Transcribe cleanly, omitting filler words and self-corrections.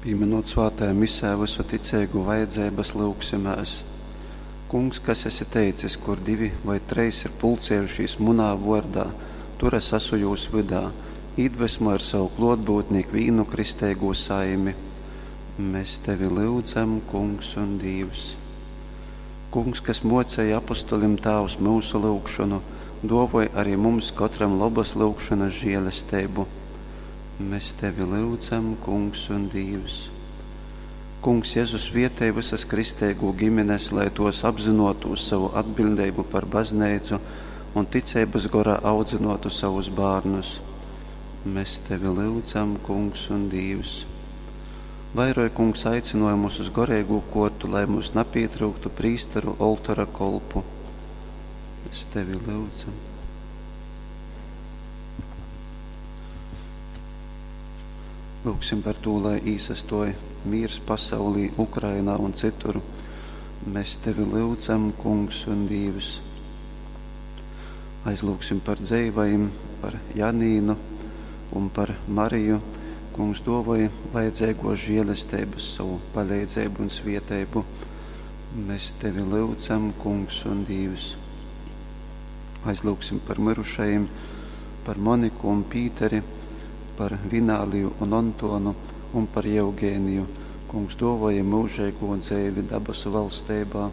Pīminūt svātajā misē vysu ticeigu vajadzeibas, lyugsimēs. Kungs, kas esi teicis, kur divi voi trejs ir pulcējušīs munā vōrdā, tur es asu jūs vydā, īdvesmoj ar savu klōtbyutni ikvīnu kristeigū saimi. Mes tevi lyudzam, Kungs un Dīvs. Kungs, kas mōcēji apostolim Tāvs myusu lyugšonu, dōvoj ari mums kotram lobas lyugšonas žēlesteibu. Mes tevi lyudzam, Kungs un Dīvs. Kungs Jezu, svietej vysas kristeigū gimines, lai tos apzynuotūs sovu atbiļdeibu par bazneicu un ticeibys gorā audzynuotu savus bārnus. Mes tevi lyudzam, Kungs un Dīvs. Vairoj, Kungs, aicynuojumus uz goreigū kuortu, lai mums napītryuktu prīsteru oltora kolpu. Mēs tevi lyudzam. Lūgsim par tū, lai īsastuoj mīrs pasaulī, Ukrainā un cytur. Mēs tevi lyudzam, Kungs un Dīvs. Aizlūgsim par dzeivajim, par Janīnu un par Mariju. Kungs duovoj vajadzeigos žēlesteibas, savu paleidzeibu un svieteibu. Mēs tevi lyudzam, Kungs un Dīvs. Aizlūgsim par myrušajim, par Moniku un Pīteri, par Vināliju un Ontonu un par Jeugēniju. Kungs duovoja myužeigū dzeivi dabasu valsteibā.